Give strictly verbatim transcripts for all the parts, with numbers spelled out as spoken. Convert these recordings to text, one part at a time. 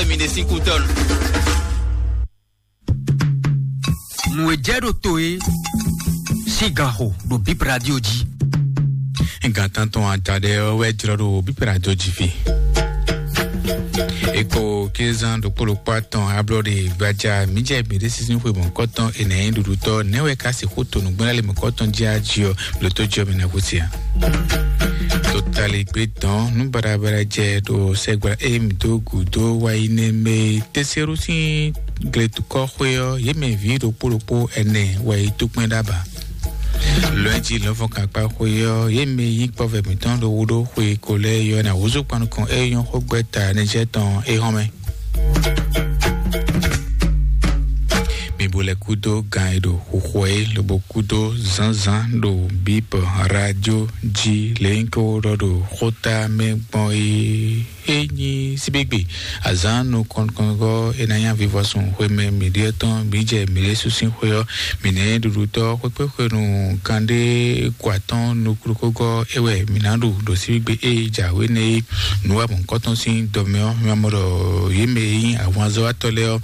Mi ɖe sín kútɔ́nu. Nǔ e jɛ ɖo to e sín gan xo ɖo Bib Radio jí. Gan tántɔn adaɖɛ ɔ́ wɛ jlɔ́ ɖo Bib Radio jí fí. Eko kézán ɖokpó ɖokpó atɔn ablɔɖe gbaja mǐ jɛ mǐ ɖe sísí xwe mɔ̌kɔtɔn enɛ ɖuɖutɔ nɛwɛ ka sixú to nǔgbɛ́nlá le mɔ̌kɔtɔn jí ají ɔ́, blǒtó jí ɔ́ mǐ ná hú sia. Totali gbé dɔn nú baɖabaɖa jɛ ɖo sɛgbla e mǐ dó gǔdo wa yi nɛ mɛ tɛsɛ́ɖu sín gletukɔxwé ɔ́, yě mɛ vǐ ɖokpó ɖokpó ɛnɛ wɛ yi tó kpɛ́n ɖó aba. Lɔ̌nji lɔ̌nfɔ́n kakpá xwé ɔ́, yě mɛ yí kpɔ́vɛ mǐtɔn ɖo wú ɖó xwe ko lɛ́ɛ yɔ ná húzú kpan nukɔn é nyɔ́ xó gbɛ́ ta nɛjɛ́ tɔn é hɔn mɛ. Mi bo lɛ kúdó gan e ɖo xuxu ɛ lobo kúdó zǎnzǎn ɖo bíbɔ radio jí lěnyíkó ɖɔ ɖo xóta mɛ gbɔn é. É nyí síbígbe azǎn nukɔn nukɔn gɔ́ é ná nyá vivɔsun xwemɛ mǐɖíɔ́ tɔn mǐ jɛ mǐɖésú sín xwé ɔ́, mǐ nɛ́ ɖuɖutɔ́ xwékpéxwenu kanɖé kɔ atɔ́n nukúnukúgɔ́ é wɛ mǐ ná ɖu ɖo síbígbe é jǎwe nɛ́ é. Nǔ wa mɔ̌hunkɔtɔn sín dɔmɛ ɔ́, mi ma mɔ ɖɔ yě mɛ e nyí ahwanzɔ́watɔ́ lɛ́ɛ ɔ́,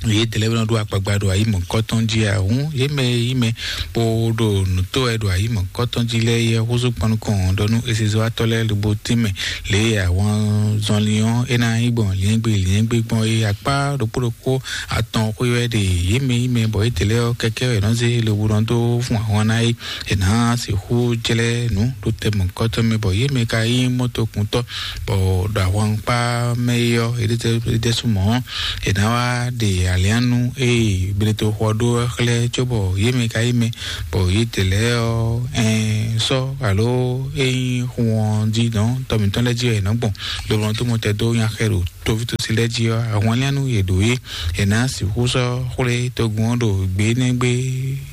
yě dɛlɛ́ nɔ ɖó akpagba ɖo ayǐ mɔ̌hunkɔtɔn jí ǎ hǔn, yě mɛ e nyí mɛ bó ɖo nǔ tó wɛ ɖo ayǐ mɔ̌hunkɔtɔn jí lɛ́ɛ é húzú kpan nukɔn ɖɔ nú esezɔ́watɔ́ lɛ́ɛ lobo tínmɛ lě e ahwanzɔnlin ɔ́ é ná nyí gbɔn lyɛ̌ngbé lyɛ̌ngbé gbɔn é akpá ɖokpó ɖokpó atɔn xwé wɛ ɖe yě mɛ nyí mɛ bɔ yě dɛlɛ́ ɔ́ kɛkɛ́ wɛ nɔ zé lobo nɔ dó fún ahwan ná é. È nǎ sixú jlɛ́ nǔ ɖo tɛmɛ kɔ́tɔ́ mɛ bɔ yě mɛ ka nyí mɔtokuntɔ́ bɔ ɖo ahwankpá mɛ é ɔ́, é ɖésú mɔ̌ è nǎ wá ɖe aliánu e Gletoxo ɔ́ ɖó ɔ́ xlɛ́ cóbɔ yě mɛ ka nyí mɛ bɔ yě dɛ lɛ́ɛ ɔ́, ɛn sɔ́ alo é nyí xu ɔ́ jí dɔn tɔ mǐtɔn lɛ́ɛ jí wɛ è nǎ gbɔn lobo nɔ dó mɔtɛn dó nyaxɛ ɖo tovítɔ́ lɛ́ɛ jí ɔ́, ahwanlín nú yě ɖǒ é, è nǎ sixú sɔ́ xwlé togun ɔ́ ɖo gbě énɛ́ gbé.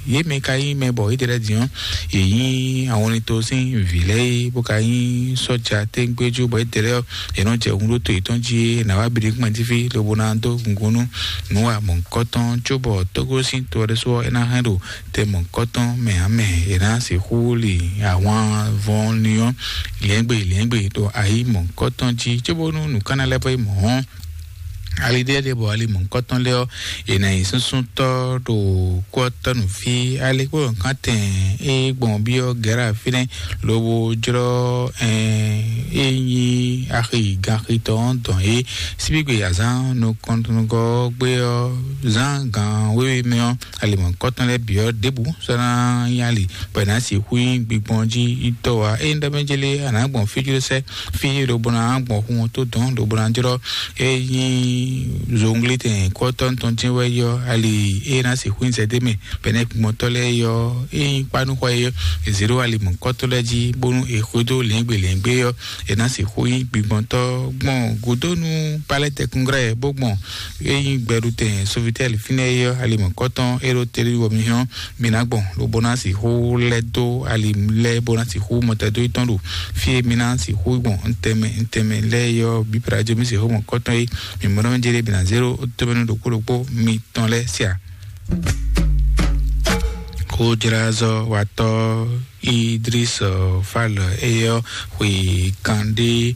Yě mɛ ka nyí mɛ bɔ yědɛɛ lɛ́ɛ din ɔ́, yě nyí ahwanlín to sín vǐ lɛ́ɛ é, bó ka nyí sɔ́ja tégbéjú bɔ yědɛɛ lɛ́ɛ ɔ́, yě nɔ jɛ hun ɖó to yětɔn jí é, è nǎ wá bǐ ɖé kpɛn jí fí lobo ná dó gungun nú nǔ wa mɔ̌hunkɔtɔn cóbɔ tógó sín to ɔ́ ɖésú ɔ́, é ná hɛn ɖo tɛ mɔ̌hunkɔtɔn mɛ ǎ mɛ. È nǎ sixú li ahwan vɔn ni ɔ́, lyɛ̌ngbé lyɛ̌ngbé ɖo ayǐ mɔ̌hunkɔtɔn jí cóbónú nǔkanna lɛ́ɛ vɔ yi mɔ̌ ɔ́, ali ɖé ɖé bɔ ali mɔ̌hunkɔtɔn lɛ́ɛ ɔ́, è nǎ nyí súnsúntɔ́ ɖo kú ɔ́ tɔ́ nǔ fí. Ali kpó nǔkantɛn e gbɔn byɔ́ Gɛ̌ra fínɛ́ lobo jlɔ́ ɛn e nyí axi ganxitɔ́ ɔ́ dɔn é. Síbígbe azǎn nukɔntɔngɔ́ ɔ́ gbé ɔ́, zǎn gan wéwe mɛ ɔ́, ali mɔ̌hunkɔtɔn lɛ́ɛ bǐ ɔ́ ɖěbǔ sɔ́ ná nyí ali bɔ è nǎ sixú nyí gbigbɔn jí yi tɔ́ ǎ. Ényí ɖɔ mɛ jélé a nǎ gbɔn fí jló sɛ́ fí lobo ná gbɔn xu ɔ́ tó dɔn lobo ná jlɔ́ é nyí zonglétɛn kɔ́tɔ́ tɔn jɛ́n wɛ yɔ ali é ná sixú nyí zɛdé mɛ bɛnɛ gbɔntɔ́ lɛ́ɛ yɔ é nyí kpánúxɔ é yɔ. È zě ɖó ali mɔ̌hunkɔtɔn lɛ́ɛ jí bónú è xwedó lɛ̌ngbé lɛ̌ngbé yɔ è nǎ sixú nyí gbigbɔntɔ́ gbɔn gǔdónú palɛ́tɛkúngrɛ́ bó gbɔn é nyí gbɛɖutɛn sovitɛ́li fínɛ́ é yɔ ali mɔ̌hunkɔtɔn é ɖó télé wɔ mi hɔn mi ná gbɔn lobo ná sixú lɛ́ dó ali lɛ́ɛ bó ná sixú mɔtɛdó tɔn ɖo fí e mi ná sixú gbɔn ntɛnmɛ ntɛnmɛ lɛ́ɛ yɔ bíbla jó mi sixú mɔ̌hunkɔtɔn é mi mɔ ɖɔ mi jɛ ɖe mi ná zéro tómɛnú ɖokpó ɖokpó mi tɔn lɛ́ɛ sia. Xójlázɔ́watɔ́ Idris Fal eyɔ xwe kanɖé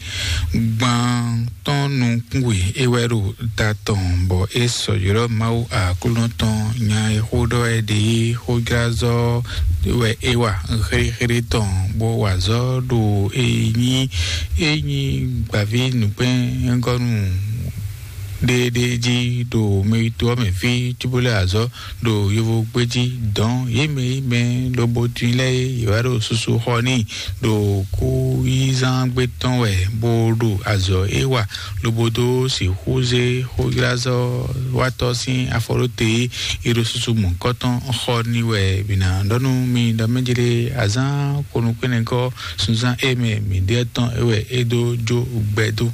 gbantɔn nukún we é wɛ ɖo ta tɔn bɔ é sɔ ylɔ́ Mawu Aklúnɔ tɔn nya e xó ɖɔ wɛ ɖe é xójlázɔ́ wɛ é wa xéxéɖé tɔn bó wa azɔ̌ ɖo e nyí é nyí gbǎví nǔkpɛ́ngɔ́nu ɖéɖé jí ɖo mɛ yitó ɔ́ mɛ fí cóbó lɛ́ azɔ̌ ɖo yovo gbé jí dɔn yě mɛ yí mɛ lobo tun lɛ́ɛ yě wá ɖo susu xɔ n'i ɖo kú yízán gbé tɔn wɛ bó ɖo azɔ̌ é wa lobo dó sixú zé xóylázɔ́watɔ́ sín afɔ ɖó te é ɖo susu mɔ̌hunkɔtɔn xɔ n'i wɛ mǐ ná ɖɔ nú mi ɖɔ mɛ jlé azán konukúnɛgɔ́ sunzán é mɛ mǐ ɖe tɔn é wɛ é dó jó gbɛ dó.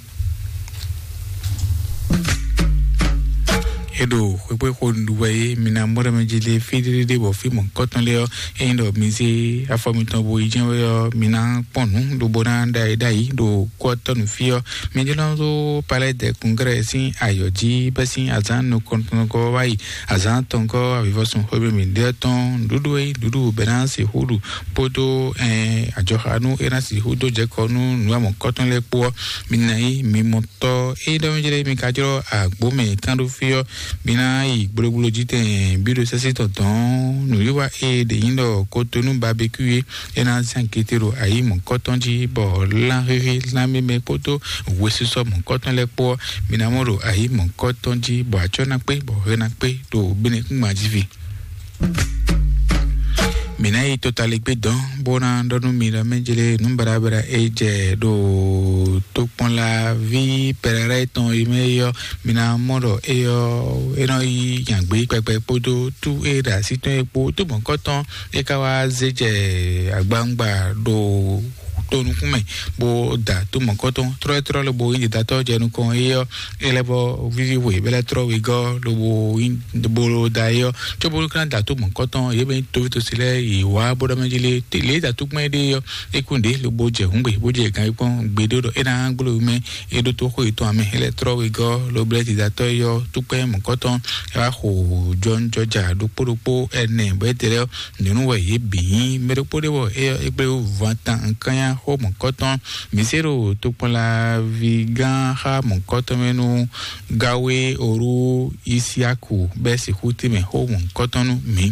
E ɖo xwekpéxo ɖu wɛ é, mi ná mɔ ɖɔ mɛ jí lé fí ɖéɖéɖé bɔ fí mɔ̌hunkɔtɔn lé ɔ́, ényí ɖɔ mi zé afɔ mitɔn bo yi jɛ́n wɛ ɔ́, mi ná kpɔ́n nǔ lobo ná ɖa yi ɖ'ayǐ ɖo kú ɔ́ tɔ́ nú fí ɔ́. Mi jlɔ́n ɖó Palais des Congrès sín ayɔ̌ jí bɛ́ sín azǎn nukɔntɔn wá yi azǎn atɔngɔ́ avivɔsun xwé mǐ ɖe tɔn nǔɖuɖu e nǔɖuɖu bɛ́ ná sixú ɖu kpódó ajɔxanú e ná sixú dó jɛ kɔ nú nǔ amɔ̌kɔtɔn lɛ́ɛ kpó ɔ́, mi ná yi mi mɔ tɔ e ɖɔ mi jlɛ mi ka jlɔ agbo mɛ kan ɖo fi ɔ́, mi ná yi gblogbló jí tɛn bí ɖo sɛ́sí tɔn dɔn nǔwiwa e ɖe nyi ɖɔ kotonu babeku e e ná zan kété ɖo ayi mɔ̌kɔtɔn jí bɔ lan xixi lan mímɛ kpódó hwesisɔ mɔ̌kɔtɔn lɛ́ɛ kpó ɔ́, mi ná mɔ ɖo ayi mɔ̌kɔtɔn jí bɔ atsɔ́ ná kpé bɔ hwɛ ná kpé ɖo bínɛkúngban jí fi. Mi ná yi totaligbé dɔn bó ná ɖɔ nú mi ɖɔ mɛ jlé nǔ baɖabaɖa e jɛ ɖo tokpɔnlaví pɛrɛrɛ tɔn yi mɛ yɔ, mi ná mɔ ɖɔ eyɔ e nɔ yi nyagbe kpɛkpɛ kpódó tú e ɖo así tɔn e kpó tó mɔ̌kɔtɔn e ka wá zé jɛ agbawungba ɖo to nukún mɛ bó da tó mɔ̌kɔtɔn trɔ́trɔ́ lobo nyí ɖiɖatɔ́ jɛ nukɔn éyɔ é lɛ́ vɔ víví hwe bɛ lɛ́ trɔ́ wegɔ́ lobo nyí bolo da éyɔ tso bolo kan da tó mɔ̌kɔtɔn yě bɛ nyí tovítɔ́si lɛ́ɛ yě wá bó ɖɔ mɛ jí lé lě da tó gbɛn ɖé yɔ é kún ɖě lobo jɛ hǔngbe bó jɛ gǎn yí kpɔ́n gbeɖé ɖɔ é ná gbló mɛ é ɖó tó xó yětɔn amɛ é lɛ́ trɔ́ wegɔ́ lobo lɛ́ ɖiɖatɔ́ éyɔ tó kpɛ́ mɔ̌kɔtɔn é wá xo jɔnjɔja ɖokpó ɖokpó ɛnɛ bɔ é tɛ lɛ́ nyɔ̌nu wɛ yě bǐ nyí. Mɛ ɖokpó ɖé wɔ é é kplé van tan nkannya xó mɔ̌kɔtɔn. Mǐ se ɖo tokpɔnlaví gán xá mɔ̌kɔtɔn mɛ nú Gawe Oru Isiaku bɛ́ sixú tɛ́nmɛ xó mɔ̌kɔtɔn nú mǐ.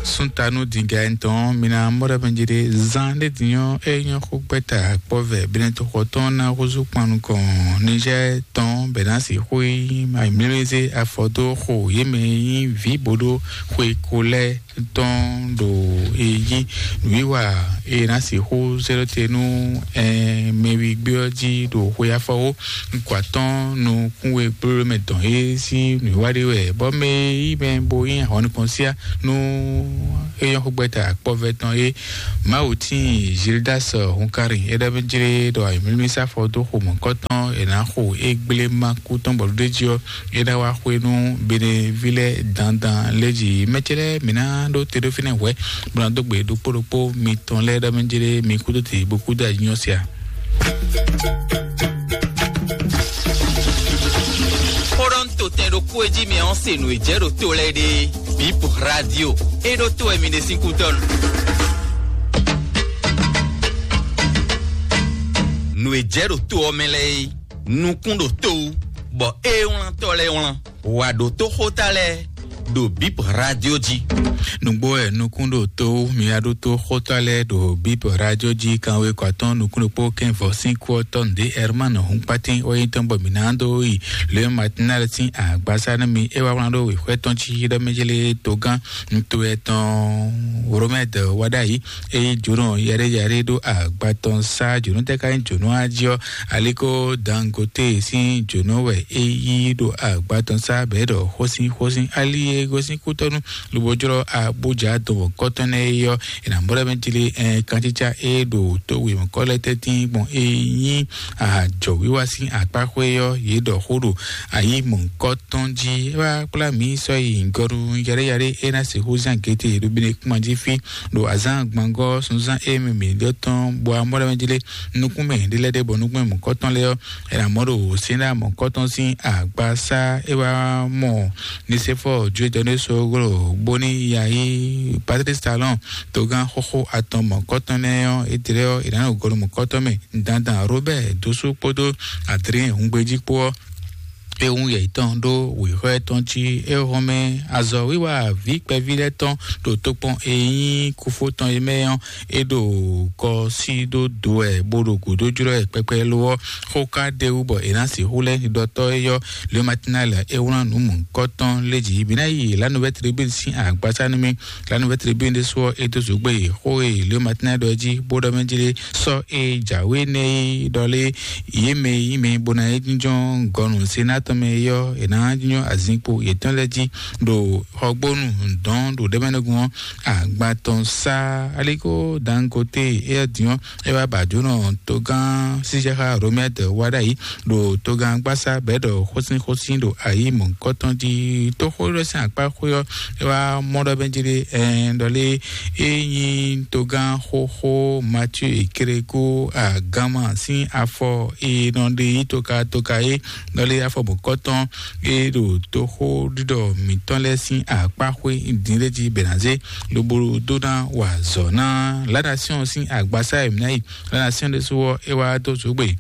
Súntanu dǐga ɛntɔn mi ná mɔ ɖɔ mɛ jí ɖé zán ɖé dǐnyɔ́ é nyɔ́ xó gbɛ́ta kpɔ́vɛ bɛnɛtoxɔ tɔn ná húzú kpan nukɔn Niger tɔn bɛ ná sixú yi ayǐmlélé zé afɔ dó xo yě mɛ e nyí vǐ bó ɖó xwe ko lɛ́ɛ tɔn ɖo e nyí nǔwiwa e ná sixú zé ɖó te nú mɛwigbé ɔ́ jí ɖo xwe afɔwó. Kɔ atɔ́n nukún we kplóɖó mɛ dɔn é sín nǔwiwa ɖé wɛ bɔ mɛ e yí mɛ bo nyí ahwan nukɔn síá nú é nyɔ́ xó gbɛ́ta akpɔ́vɛ́ tɔn é. Mawu tíin Gildas Hunkari é ɖɔ mɛ jlé ɖɔ ayǐmlélé sá fɔ dó xo mɔ̌kɔtɔn è nǎ xo é gblé má kú tɔn bɔ ɖó jí ɔ́ é ná wá xwé nú beɖeví lɛ́ɛ dandan lé jí mɛ ce lɛ́ɛ mǐ ná ɖó te ɖó fínɛ́ hwɛ̌ bó ná dó gbe ɖokpó ɖokpó mitɔn lɛ́ɛ ɖɔ mɛ jlé mi kú dó te bó kú dó anyɔ sia. Xó ɖɔ ń to tɛn ɖokpó e jí mi ɔ́ se nǔ e jɛ ɖo to lɛ́ɛ ɖe. Bip Radio e ɖo to wɛ mi ɖe sín kútɔ́ nu. Nǔ e jɛ ɖo to ɔ́ mɛ lɛ́ɛ é, nukún ɖo to wú, bɔ é wlántɔ́ lɛ́ɛ wlán. Wǎ ɖótó xóta lɛ́ɛ ɖo Bip Radio jí. Nǔgbó wɛ nukún ɖo to wú, mi wá ɖótó xóta lɛ́ɛ ɖo Bip Radio jí kanwe kɔ atɔ́n nukún ɖokpó kɛ́nvɔ sín kú ɔ́ tɔn ɖě Herman Hunkpatín wɛ nyí tɔn bɔ mǐ ná dó yi Le Matinal sín agbasa nú mi. É wá wlán ɖó wěxwɛ́ tɔn jí ɖɔ mɛ jlé togán ntó ɛtɔn Romɛd wá ɖ'ayǐ. Eye jǒnɔ yɛɖéyɛɖé ɖó agba tɔn sá jǒnɔ tɛ́ ká nyí jǒnɔ á jí ɔ́, aliko Dangote sín jǒnɔ wɛ é yí ɖo agba tɔn sá bɛ̌ ɖɔ xósín xósín ali e gosín kútɔ́nú lobo jlɔ́ abújá dɔn kɔ́tɔ́ nɛ́ é ɔ́, è nǎ mɔ ɖɔ mɛ jlé ɛn kantítsá e ɖo tó wěmɔkɔ́ lɛ́ɛ tɛ́ntin gbɔn é nyí ajɔ̌wiwa sín akpáxwé ɔ́, yě ɖɔ xó ɖo ayǐ mɔ̌hunkɔtɔn jí. É wá kplá mǐ sɔ́ yi gɔnu yaɖéyaɖé é ná sixú zán gěte ɖo Benekúma jí fí ɖo azǎn gbangɔ́ sunzán e mɛ mǐ ɖɔ tɔn bɔ amɔ́ɖɔmɛ jí lé nukún mɛ ɖé lɛ́ɛ ɖé bɔ nukún mɛ mɔ̌kɔtɔn lɛ́ɛ ɔ́, é ná mɔ ɖo Sɛ́nɖa mɔ̌kɔtɔn sín agbasá. É wá mɔ Nisefɔ Juwedɔnésoglo bóní yayi Patrice Talon togán xóxó atɔn mɔ̌kɔtɔn nɛ́ ɔ́, é tlɛ ɔ́, é ná ɖo gɔnu mɔ̌kɔtɔn mɛ dandan Robert Dosu kpódó Adrien Hungbeji kpó ɔ́. É hun yɛ tɔn ɖó wěxɔ tɔn jí é hɔn mɛ azɔ̌wiwa vǐ kpɛví lɛ́ɛ tɔn ɖo tokpɔn e nyí kúfó tɔn é mɛ ɔ́, é ɖo kɔ sí ɖó do wɛ bó ɖo gǔdo jlɔ́ ɛ kpɛkpɛ lo ɔ́. Xó ka ɖ'é wú bɔ è nǎ sixú lɛ́ ɖiɖɔtɔ́ é yɔ́ Le Matinal é wlán nǔ mɔ̌hunkɔtɔn lé jǐ. Bǐ ná yi La Nouvelle Tribune sín agbasá nú mì. La Nouvelle Tribune ɖésú ɔ́, é dó zǒgbé xó e Le Matinal ɖɔ jí bó ɖɔ mɛ jí lé sɔ́ e jǎwe nɛ́ é ɖɔ lé yě mɛ e nyí mɛ bó ná é jínjɔ́n gɔnu Senatɔ mɛ yɔ è nǎ nyɔ azinkpo yětɔn lɛ́ɛ jí ɖo xɔgbónu dɔn ɖo ɖɛmɛnɛgun ɔ́ agba tɔn sá. Aliko Dangote éyɛ́ din ɔ́, é wá ba jǒnɔ togán sísɛ́xá Romɛd wá ɖ'ayǐ ɖo togán gbásá bɛ̌ ɖɔ xósínxósín ɖo ayǐ mɔ̌hunkɔtɔn jí. Tóxó ɖɔ sín akpá xwé ɔ́, é wá mɔ ɖɔ bɛ́ jí ɖé ɛn ɖɔ lé é nyí togán xóxó Mathieu Ekereko agánma sín afɔ e nɔ ɖe yí toka toka é ɖɔ lé afɔ mɔ̌hunkɔtɔn é ɖo tóxó ɖiɖɔ mǐtɔn lɛ́ɛ sín akpá xwé dín ɖé jí bɛ̌ ná zé lobo dó ná wa azɔ̌ ná. La Nation sín agbasá e mǐ ná yi, La Nation ɖésú ɔ́ é wá dó zǒgbè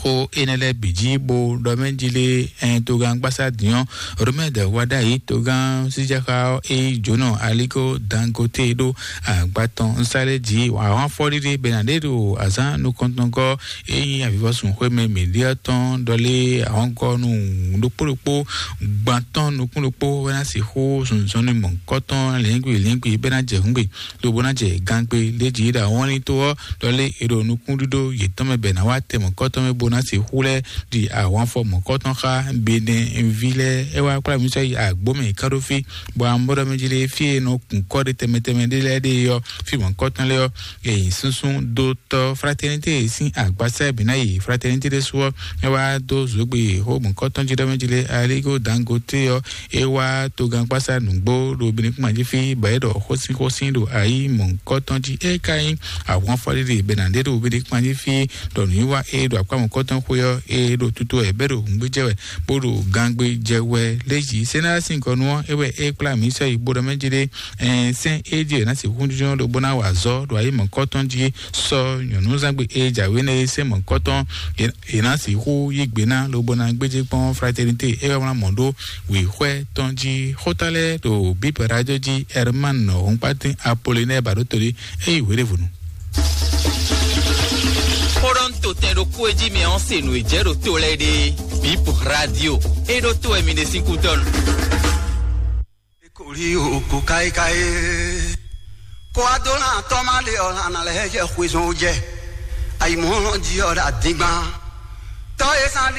xó énɛ́ lɛ́ɛ bǐ jí bó ɖɔ mɛ jí lé ɛn togán gbásá din ɔ́, Romɛd wá ɖ'ayǐ togán sísɛ́xá ɔ́ é yí jǒnɔ Aliko Dangote ɖó agba tɔn nsá lɛ́ɛ jí ahɔ́n afɔɖiɖi bɛ́ ná ɖe ɖo azǎn nukɔntɔngɔ́ é nyí avivɔsun xwémɛ mǐɖíɔ tɔn ɖɔlé ahɔ́ngɔ́ nú ɖokpó ɖokpó gbantɔn nukún ɖokpó wɛ ná sixú zunzɔnnu mɔ̌hunkɔtɔn lǐngbi lǐngbi bɛ́ ná jɛ hǔngbe lobo ná jɛ gangbe lé jí ɖo awɔnlin tó ɔ́ ɖɔlé è ɖo nukúnɖíɖó yětɔn mɛ bɛ́ ná wá tɛ mɔ̌kɔtɔn mɛ bó ná sixú lɛ́ ɖi ahwanfɔ mɔ̌kɔtɔn xá Benɛví lɛ́ɛ. É wá kplá mǐ sɔ́ yi agbǒ mɛ ká ɖó fí bɔ amɔ̌ɖɔ mɛ jí lé fí e nɔ kun kɔ́ ɖe tɛnmɛ tɛnmɛ ɖé lɛ́ɛ ɖe ɔ́ fí mɔ̌kɔtɔn lɛ́ɛ ɔ́, èyí súnsún dó tɔ́ Fraternité sín agbasá bǐ ná yi Fraternité ɖésú ɔ́, é wá dó zǒgbe xó mɔ̌kɔtɔn jí ɖɔ mɛ jí lé Aligo Dangote ɔ́, é wá togán kpásá nǔgbó ɖo Benin kpán jí fí bɔ é ɖɔ xósín xósín ɖo ayí mɔ̌kɔtɔn jí. É ka nyí ahwan fɔɖiɖi bɛ ná ɖe ɖo Benin kpán jí fí ɖɔ nǔwiwa é ɖo akpá mɔ̌kɔtɔn xwé ɔ́, é ɖo tutu wɛ bɛ ɖo hǔngbéjɛ wɛ bó ɖo gangbé jɛ wɛ. Lézí Sénat sín gɔnu ɔ́, é wɛ é kplá mǐ sɔ́ yi bó ɖɔ mɛ jí ɖé ɛn sɛ́n é jí è nǎ sixú jínjɔ́n lobo ná wa azɔ̌ ɖo ayǐ mɔ̌kɔtɔn jí sɔ́ nyɔ̌núzangbe e jǎwe nɛ́ é sɛ́n mɔ̌kɔtɔn è nǎ sixú yí gbe ná lobo ná gbéjé kpɔ́n Fraternité é wá wlán mɔ̌ ɖó wěxwɛ́ tɔn jí. Xóta lɛ́ɛ ɖo Bíp Radio jí Herman Hɔnkpátín Apollinaire Baɖótolí é yi hwěɖěvɔnu. Xó ɖɔ ń to tɛn ɖokpó e jí mi ɔ́ se nǔ e jɛ ɖo to lɛ́ɛ ɖe Bíp Radio é ɖó to wɛ mi ɖe sín kútɔ́nu. Kori o ko kai kai. Ko adolan tɔma le ɔlan na lɛ jɛ xwezɔn o jɛ. Ayi mɔ ji ɔ da digban. Tɔ e san di